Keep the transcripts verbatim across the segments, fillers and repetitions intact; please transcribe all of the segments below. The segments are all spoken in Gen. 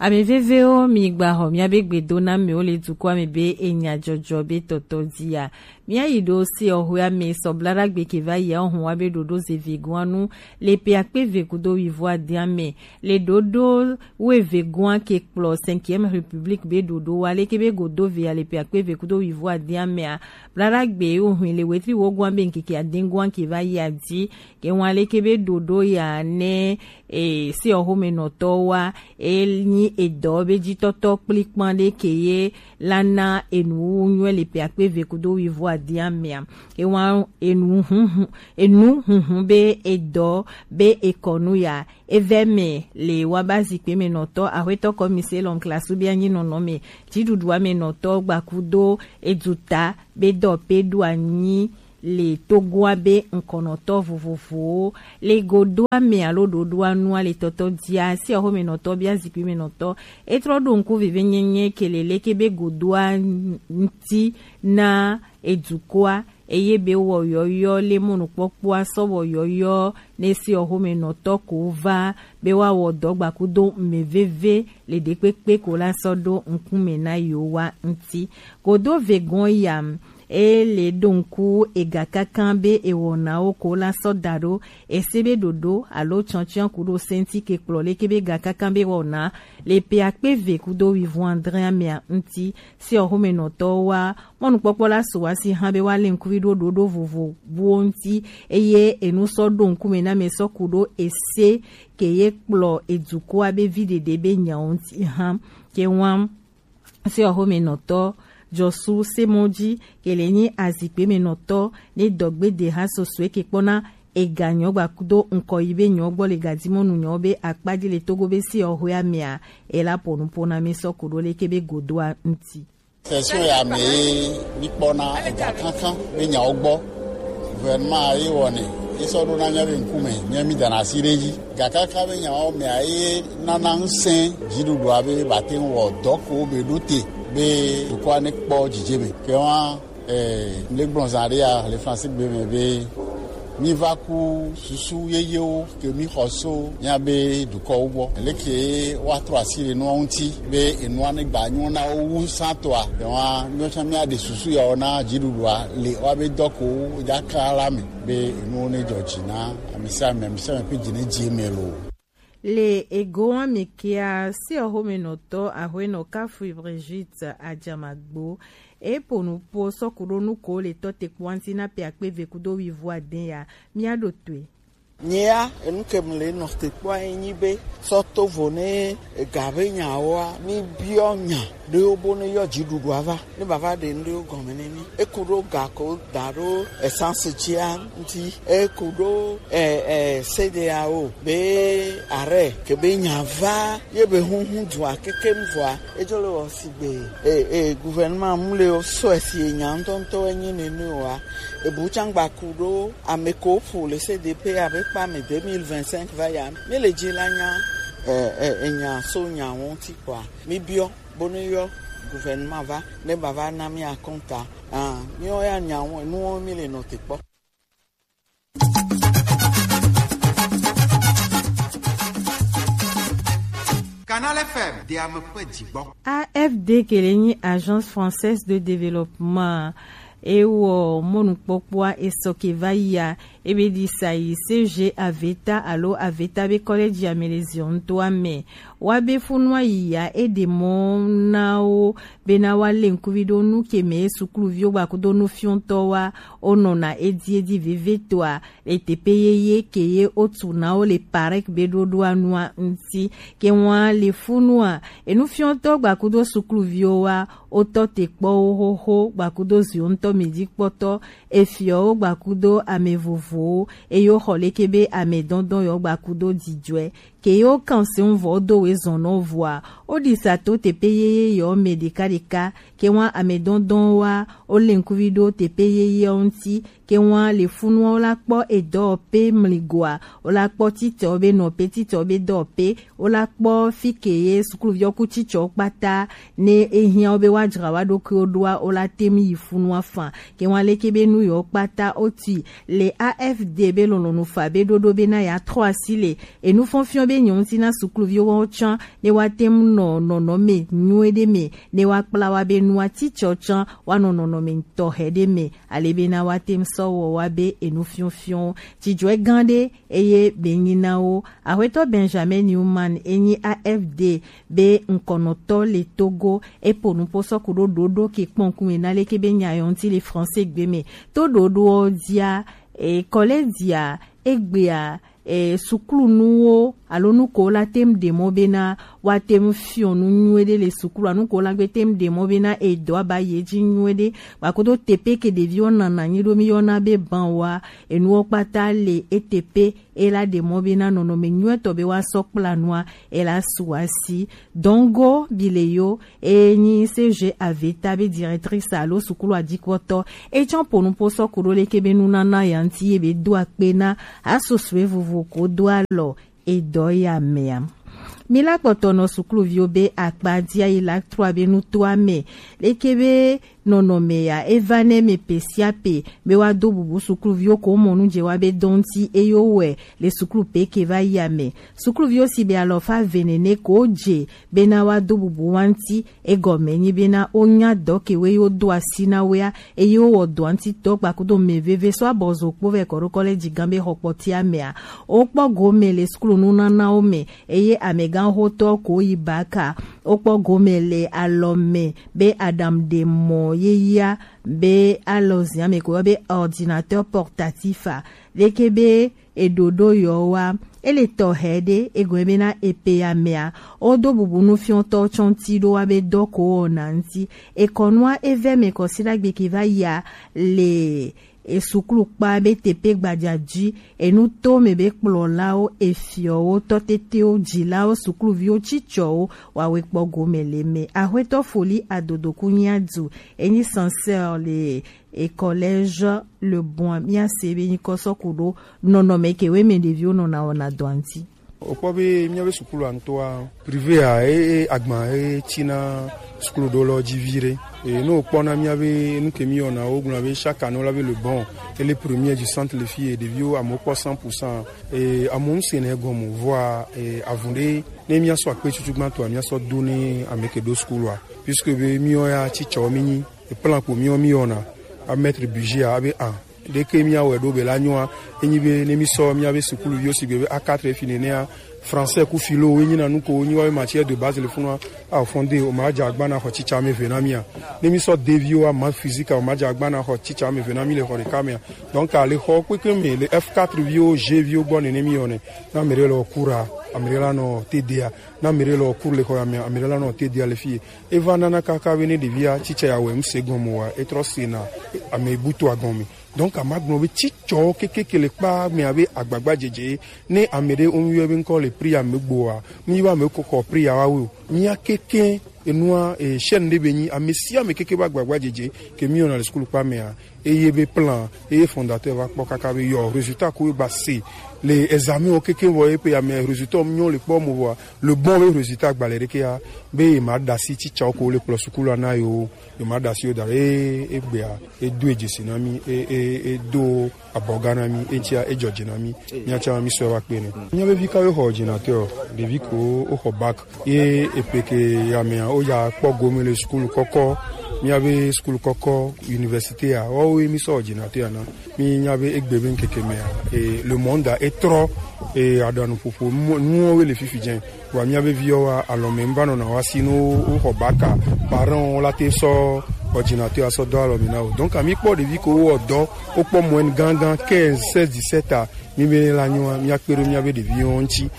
Ame vevewo, mi gba xɔ miabe gbedonamewo le dukɔa me be enya jɔjɔ be tɔtɔ dia. Mia yi ɖo se ɔhwea me sɔ bla ɖagbe ke va yia ohun wa be ɖoɖo ze vegoa nu le pe akpe ve kudo wivo adia me. Le ɖoɖo we vegoa ke kplɔ cinquième République be ɖoɖo wa leke be godo vea le pe akpe ve kudo wivo adia mea. Bla ɖagbe ohun le wetri wogoa be nkeke adengoa ke va yia di. Ke wan leke be ɖoɖo ya ne e, se ɔxomenɔtɔwo wa, e nyi edɔ be jitɔtɔ kplikpan ɖe ke ye la na enuwuwu nyuɛ le pe akpe ve kudo wivo adia mea. E wan enu hunhun, enu hunhun be edɔ be ekɔnu ya. Evɛ me le wa ba zikpe me nɔtɔ, axwetɔ kɔmise lɔn klasu be anyi nɔnɔ me, jiɖuɖua me nɔtɔ gbakudo eduta be dɔ pe ɖo anyi le togoa be ŋkɔnɔtɔ vovovowo le godoa me alo ɖoɖoa nua le tɔtɔ dia, si axomenɔtɔ bia zikpui me nɔtɔ. Etrɔ ɖo ŋku vivi nyenye ke le leke be godoa ŋti na edukɔa, eye be wɔ yɔyɔ le mɔnukpɔkpɔa sɔ wɔ yɔyɔ ne si axomenɔtɔ ko va be wa wɔ dɔ gbakudo meveve le ɖekpekpe ko la sɔ ɖo ŋkume na yewo wa ŋti. Godo vegɔn yam, e le ɖo ŋku ega kankan be ewɔnawo ko la sɔ da ɖo ese be ɖoɖo alo tsɔntsɔn ku ɖo senti ke kplɔ leke be ga kankan be wɔna le pe akpe ve kudo wivɔn adre amea ŋti. Si axomenɔtɔwo wa mɔnukpɔkpɔ la so wa si hã be wa le ŋkuvi ɖo ɖoɖo vovo buwo ŋti, eye enu sɔ ɖo ŋkume na me sɔ ku ɖo ese ke ye kplɔ edukɔa be vi ɖeɖe be nyawo ŋti hã. Ke wan se axomenɔtɔ Jɔsu Semɔdzi ke le nyi azikpe me nɔtɔ ne dɔgbe de ha sosoe ke kpɔna ega nyɔ gbakudo ŋkɔ yi be nyɔ gbɔ le gadimɔnu nyɔ be akpaji le Togo be si axoea mea, ela ponu pona me sɔ ku ɖo leke be godoa ŋti. Session ya me ye mi kpɔna ega kankan be nyawo gbɔ. Gouvernement ye wɔnɛ, ye sɔ ɖo na mia be ŋkume, mia mi dana asi ɖe dzi. Gakaka be nyawo mea ye nana ŋusẽ dziɖuɖua be bate ŋu wɔ dɔ ko be ɖo te be dukɔa ne kpɔ dzidzeme. Ke wa, eh, le gblɔ zã ɖe ya le Francis gbe me be mi va ku susu yeyewo ke mi xɔ so mia be dukɔwo gbɔ. Leke wa trɔ asi le nua ŋuti be enua ne gba nyo na wo wu sã toa. Ke wa mi tsã mia ɖe susu ya wo na dziɖuɖua le wa be dɔ ko dza ka la me. Be enuwo ne dzɔ dzi na ame sia ame, ame sia ame ƒe dzi ne dzi eme loo. Le egoa me kea, se axomenɔtɔ axoenɔ Kafui Brigitte Adzamagbo, e po nu po sɔ ku ɖo nu ko le tɔ te kpɔa ŋti na pe akpe ve kudo wivo ade ya, mia ɖo toe. Nyea, enu ke mu le nɔ te kpɔa ye nyi be, sɔ to vo ne ega be nyawoa, mi biɔ nya ɖewo bo ne yɔ dziɖuɖua va. Ne bava ɖe nu ɖewo gɔme ne mi. Eku ɖo ga ko da ɖo essence dzia ŋti. Eku ɖo, eh, eh, C D A O be arrêt ke be nya va ye be hunhun dua kekem vɔa. Edzo le wɔ sigbe, eh, eh, gouvernement mu le wo sɔ esi enya ŋtɔŋtɔ enyi nene oa. Ebu tsã gba ku ɖo ame ko ƒo le C D P abe kpa me deux mille vingt-cinq va ya. Mi le dzi la nya, eh, eh, enya so nya ŋuti kpɔa. Mi biɔ. Bonu yɔ gouvernement va ne bava na mi akɔnta. Ah, mi ya nya wo nuwo mi le nɔ te kpɔ. Canal F M, de ame ƒe dzigbɔ. A F D ke le nyi Agence Française de Développement. E wɔ mɔnukpɔkpɔa esɔ ke va yia, ebe ɖi sa yi C G Aveta alo Aveta be kɔlɛdzi ame le ziɔ ŋutɔa me. Wa be funua yi ya, e ɖe mɔ na wo bena wa le ŋkuvi ɖo nu ke me sukluviwo gbakudo nufiɔtɔ wa wo nɔna edi edi veve toa, le teƒe yeye ke ye wotu na wo le parek be ɖoɖoa nua ŋuti. Ke wa le funua, enufiɔtɔ gbakudo sukluviwo wa, wotɔ te kpɔ wo xoxo gbakudo ziwo ŋutɔ mi dzi kpɔtɔ, efiɔwo gbakudo ame vovowo, eye woxɔ leke be ame dɔndɔn yewo gbakudo dzidzɔe. Ke yewo kan se ŋu vɔ wodo we zɔn nɔ vɔa, woɖi sa to teƒe yeye yewo me ɖeka ɖeka, ke wa ame dɔndɔn wa, wo le ŋkuvi ɖo teƒe yeye wo ŋuti, Ke wan le funu wo la kpɔ edɔ pe mligoa, wo la kpɔ titɔ be nɔ pe titɔ be dɔ pe, wo la kpɔ fi ke ye sukuluvi wo ku titɔ kpata ne ehiã wo be wa dzra wa ɖokuiwo ɖoa, wo la tem yi funu afan. Ke wan leke be nu yewo kpata wo tui le A F D be lɔlɔnu fa be ɖoɖo be na ya trɔ asi le enu fɔnfiɔn be nyɔ ŋuti na sukuluviwo wo tsã ne wa tem nɔ nɔnɔme nyuie ɖe me, ne wa kpla wa be nua titɔ tsã wa nɔ nɔnɔme tɔxɛ ɖe me. Ale be na wa tem sɔ wɔ wa be enu fiɔfiɔn. Dzidzɔe gã ɖe eye be nyi na wo. Axwetɔ Benjamin Newman enyi A F D be ŋkɔnɔtɔ le Togo, epo nupo sɔ ku ɖo ɖoɖo ke kpɔn kume na leke be nya yɔ ŋuti le français gbe me. To ɖoɖoɔ dia, e, kɔlɛ dia, egbea, e, sukulunuwo alo nuko la tem ɖe mɔ bena wa tem fiɔ nu nyuie ɖe le sukulu, alo nuko la gbe tem ɖe mɔ bena edɔ aba ye dzi nyuie ɖe. Gbakodo tepe ke ɖeviwo nana anyi ɖo mi yɔna be ban wa, enuwo kpata le etepe, e la ɖe mɔ bena nɔnɔme nyuietɔ be wa sɔ kpla nua, e la su asi. Dongo bi le yo, e nyi C G Aveta be directrice alo sukulu adikpɔtɔ. E tsɔ po nupo sɔ ku ɖo leke be nunana ya ŋuti ye be do akpe na asosue vovo ko do alɔ edɔ ya mea. Mi la kpɔtɔ nɔ sukuluviwo be akpa dia yi la trɔ be nutoa me. Leke be nɔnɔme ya e va ne me pe sia pe be wa do bubu sukuluviwo ko mɔ nu je wa be dɔnti eyo wɛ le sukulu pe ke va yi ame. Sukuluviwo si be alɔfa ve nene ko je bena wa do bubu wa ŋuti, egɔme nyi bena wo nya dɔ ke we yo do asi na wea, eye wo wɔ dɔa ŋuti dɔ gbakudo mɛ veve sɔ abɔzo kpo vɛ kɔ ɖo kɔlɛji gã be xɔ kpɔtia mɛa. Wo kpɔ gome le sukulu nunanawo mɛ, eye amɛgãxotɔ ko yi baka. Wo kpɔ gome le alɔ mɛ be aɖaŋuɖemɔ yeyea be alɔ zia mɛ ko yɔ be ordinateur portatif a. Leke be eɖoɖo yɔ wa, ele tɔxɛ ɖe egɔme bena epe ya mɛa, wodo bubu nufiɔtɔ tsɔnti ɖo wa be dɔ ko wɔna ŋuti. Ekɔnua evɛ mɛ kɔsi ɖagbe ke va yia le esuklu kpa be tepe gbaja ji, enu to mɛ be kplɔlawo, efiɔwo, tɔtetewo, jilawo, sukluviwo, cicɔwo, wa we kpɔ gome le mɛ. Axwetɔ Foli Adodoku nya du, enyi censeur le e collège Le Bon, mía se be nyikɔ sɔ ku ɖo nɔnɔme ke we mɛ ɖeviwo nɔna wɔna dɔa ŋuti. Wokpɔ be míabe sukulu ŋutɔa, privé a, e, e, agba e tina sukulu ɖo lɔ dzi vi ɖe. E, ne wokpɔ na míabe nu ke míyɔna, wogblɔna be chaque année wola be Le Bon, ele premier du centre le fi ye ɖeviwo amewo kpɔ cent pour cent. E, amewo ŋusẽ nɛ gɔme, vɔa, e, avun ɖe, ne míasɔ akpe tutu gbãtɔa, míasɔ do ne ame ke ɖo sukulua. Puisque be míwo ya cicɔ mí nyi. Plan ko míwo míyɔna a mettre budget a, abe an ɖeke míawɔe ɖo be la nyɔa, enyi be ne mísɔ míabe sukuluviwo sigbe be A quatre fi nenea, français ku philo wo enyi na nu ko wonyi wa be matière de base le funua, a fond de o ma dza agba na xɔ tsitsa me ve na mía. Ne mísɔ D viwo a maths physique a o ma dza agba na xɔ tsitsa me ve na mí le xɔ ɖeka mea. Donc a le xɔ kpekpe me le F quatre viwo, G viwo gbɔ nene míyɔnɛ. Na ame ɖe le cours a, ame ɖe la nɔ T D a. Na ame ɖe le cours le xɔ ya me, ame ɖe la nɔ T D a le fi ye. Eva nana kaka be ne ɖevia tsitsa ya wɛ ŋse gɔme wa, etrɔ sena ame butu agɔme. Donc a ma gblɔ be tsitsɔ kekeke le kpa me abe agbagba dzedze. Ne ame ɖe wo yɔ be ŋkɔ le priya me gboa, mi wa me kɔkɔ priya wa wo. Mia keke enua, e, chaîne ɖe be nyi ame sia ame keke be agbagba dzedze ke mi yɔna le sukulu kpa mea. Eye be plan, eye fondateur va kpɔ kaka be yɔ résultat ko ba se le examen wo keke vɔ ye pe ame résultat nyɔ le kpɔ mo vɔa, Le Bon be résultat gbalɛ ɖeke ya, be ye ma ɖasi tsitsawo ko le kplɔ sukulu na yo, ye ma ɖasi yo da, e, egbea, e do e dzesi na mi, e, e, e do abɔga na mi, e tia, e dzɔdze na mi, mia tia mi sɔ va kpe ne. Mia be vi ka yo xɔ ordinateur, ɖevi ko wo xɔ bac, ye epe ke ya mea, wo ya kpɔ gome le sukulu kɔkɔ, mia be sukulu kɔkɔ, université ya, wo wo ye mi sɔ ordinateur ya na. Mi nya be egbe be ŋkeke mea, e, le monde a etrɔ, e, aɖanuƒoƒo nuwo, nuwo le fifi dze. Wa mia be viwo wa alɔme ŋva nɔna wa si no wo xɔ bac a, parents wo la te sɔ ordinateur asɔ dɔ alɔme na wo. Donc a mi kpɔ ɖevi ko wo dɔ, wo kpɔ moyenne gangan quinze, seize, dix-sept a, mi be la nyoa, mia kpe ɖo mia be ɖeviwo ŋuti.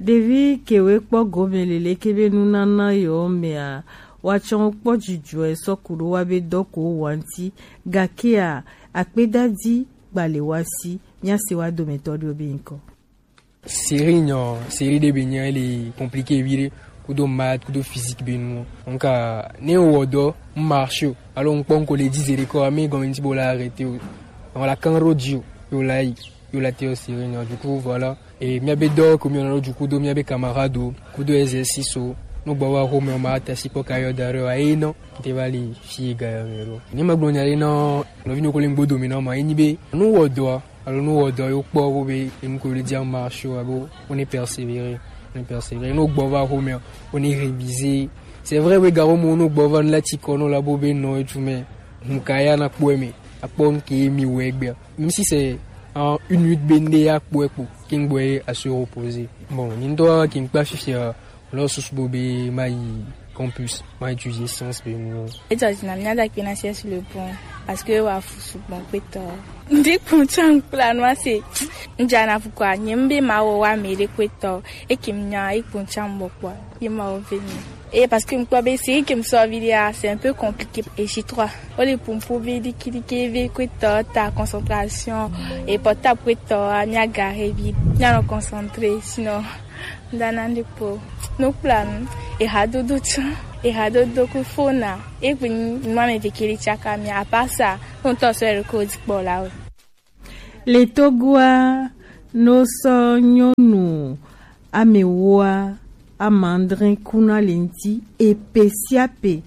Ɖevi kewe kpɔ gome lele ke be nunana yewo mea, woatsɔ kpɔ dzidzɔe sɔ ku ɖo wa be dɔ ko wa ŋuti, gakea akpedadi gbale wa si, mia se wa dometɔ ɖewo be ŋkɔ. Série nyɔ, série ɖe be nyɔ ele compliqué viɖe, kudo maths, kudo physique be nu. Donc, ne wɔ dɔ, marche, alors ŋkpɔ ŋko le dix heures ko, ame gɔme ŋuti bo la arrêter o. Voilà, quand Rodio, yo la yi, yo la te yo siri nyo, du coup, voilà. Et mia be do ko mi na do du coup do mia be camarade, coup de exercice, no gbo wa ho me ma ta si po ka yo dare wa e no, te va li fi ga yo me ro. Ni ma gbo nya e no, no vi no ko le ngbo do mi no ma, e ni be, no wo do, alors no wo do yo po wo be, e mu ko le dia marche wa bo, on est persévéré, on est persévéré, no gbo wa ho me, on est révisé. C'est vrai, we garo mo no gbo wa la ti ko no la bo be no e tu me, mu ka ya na po e me, a po nke mi we gbe. Même si c'est en une minute bende ya kpo ekpo, king boy à se reposer. Bon, nindo king pa fifi, euh, lo susu bo be ma yi campus, ma étudier science be mo. E judge na mi ada kpe na sur le pont, parce que wa fusu bon kpeto. Ndi kun chan plan wa se. Nja na fukwa, nyembe ma wo wa me de kpeto. E kim nya e kun chan bo kwa. Ye ma wo veni. Et parce que mkpɔ be série ke msɔ vi dia, c'est un peu compliqué. Et j'y trois. O le pumpu vi di kidi ke vi kwe to ta concentration. Et portable kwe to a mi agare vi. Mi a no concentré. Sinon, ndana ndi po. No plan. E ha dodo chan. E ha dodo ku fona. E gbe ni mwa me vekeli chaka mi. À part ça, on to se record pour là. Le Togoa no sɔ nyɔnu amewoa amandrin kuna le ŋti epe sia pe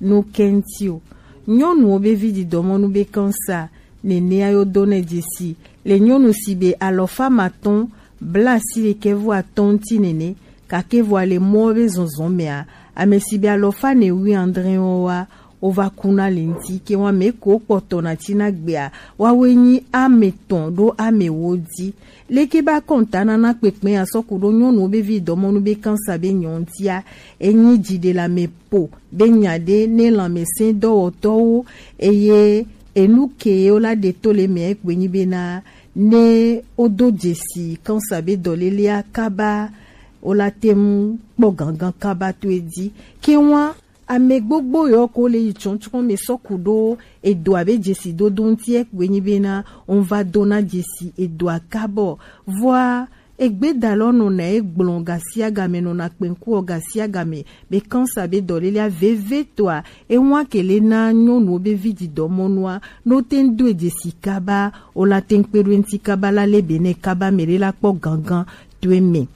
no kɛnti o. Nyɔnuwo be vi didɔmɔnu be kansa nenea yo do nɛ dzesi le nyɔnu si be alɔfa matɔn bla si ɖekɛ vɔ atɔn ŋti nene, gake vɔ le mɔ be zɔnzɔn mɛa, ame si be alɔfa ne wi andre wa wova kuna le ŋti ke wa mɛ ko kpɔtɔ na tina gbea, wawe nyi ame tɔn ɖo ame wo di. Leke ba kɔnta nana kpekpe asɔku ɖo nyɔnuwo be vi dɔmɔnu be kansa be nyɔntia, enyi dziɖelame po be nya ɖe ne lãmesẽ dɔwɔtɔwo, eye enu ke wo la ɖe to le mɛ gbe nyi bena ne wo do dzesi kansa be dɔlelea kaba, wo la te ŋu kpɔ gangan kaba to edi. Ke wa ame gbogbo yɔ ko le yi tsɔntsɔn me sɔku ɖo edoa be dzesi dodo ŋti ekpe nyi bena ŋva dona dzesi edoa kabɔ. Vɔa egbedalɔ nɔna egblɔn gasiagame nɔna kpɛnkuɔ gasiagame be kansa be dɔlelea veve toa ewa kele na nyɔnuwo be vi didɔmɔnua no te ŋ do edzesi kaba o la te ŋ kpe ɖo eŋti kaba la le be ne kaba me ɖe la kpɔ gangan to eme.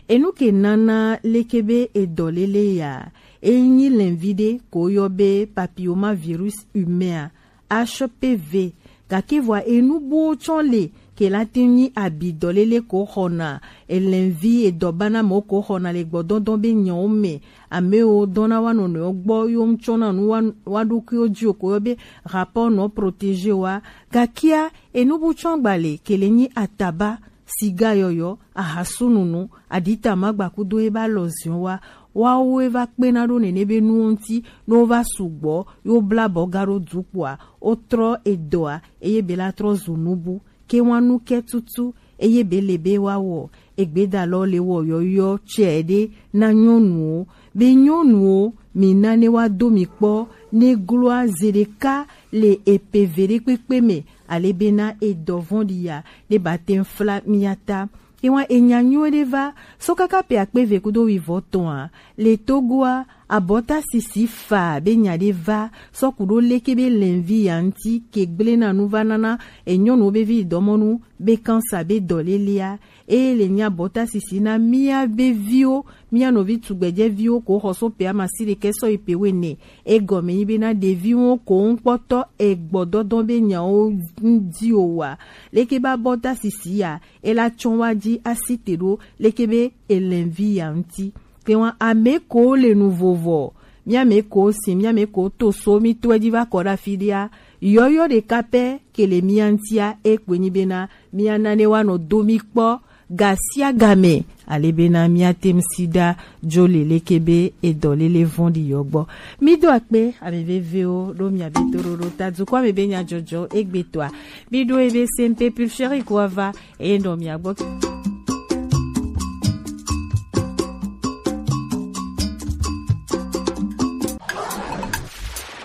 Enu ke nana leke be edɔlele ya, enyi lɛnvi ɖe ko yɔ be papillomavirus humain a, H P V. Gake vɔa enu buwo tsɔ le ke la te nyi abi dɔlele ko xɔna elɛnvi edɔbana mɔ ko xɔna le gbɔdɔdɔ be nyawo me. Amewo dɔna wa nɔnɔewo gbɔ yo ŋtsɔna nu wa, wa ɖokuiwo dzi o ko yɔ be rapport non protégé wa. Gakea enu bu tsɔ gba le ke le nyi ataba, siga yɔyɔ, ahasununu, adita magba kudo ebe alɔziɔn wa, wawo eva kpena ɖo nene be nuwo ŋti, ne wova sugbɔ, ye wobla bɔ ga ɖo du kpoa, wotrɔ edɔa, eye be la trɔ zu nubu. Ke wa nu ke tutu, eye be le be wa wɔ, egbedalɔ le wɔ yɔyɔ tsɛ ɖe na nyɔnuwo, be nyɔnuwo, mi na ne wa do mi kpɔ, ne gloa ze ɖeka le epe ve ɖe kpekpe me, ale bena edɔ vɔ̃ɖi ya ɖe ba te ŋ fla mia ta. Ewa enya nyuie ɖe va so kaka pe akpe ve kudo wivɔ tɔn a, le Togoa, abɔta sisi fa be nya ɖe va sɔ ku ɖo leke be lɛnvi ya ŋti ke gblena nu va nana enyɔnuwo be vi dɔmɔnu be kansa be dɔlelea. Eye le nya bɔta sisi na mia be viwo, mia nɔvi tugbɛjɛ viwo ko xɔ so pe amasi ɖekɛ sɔ yi pe wene. Egɔme nyi bena ɖeviwo ko ŋkpɔtɔ egbɔ dɔdɔn be nyawo ŋdi o wa. Leke ba bɔta sisi ya, ela tsɔn wa ji asi te ɖo leke be elɛnvi ya ŋti. Te wa ame ko le nu vovɔ, mia me ko si, mia me ko to so mi to eji va kɔ ɖe afi ɖea, yɔyɔ ɖeka pɛ ke le mia ŋtia, e kpoe nyi bena mia na ne wa nɔ do mi kpɔ gasiagame, ale bena mia te ŋ si ɖa dzo le leke be edɔlele vɔ̃ɖi yɔ gbɔ. Mi do akpe ame vevewo ɖo mia be toɖoɖo ta dukɔ ame be nyajɔjɔ egbetɔa. Mi ɖo ebe C M P Pulchérie ko ava eye nɔ mia gbɔ.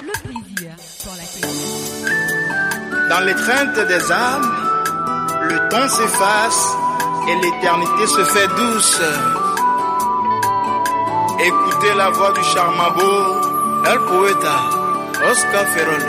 Le plaisir. Dans l'étreinte des âmes, le temps s'efface et l'éternité se fait douce. Écoutez la voix du charmant beau El Poeta, Oscar Ferrol.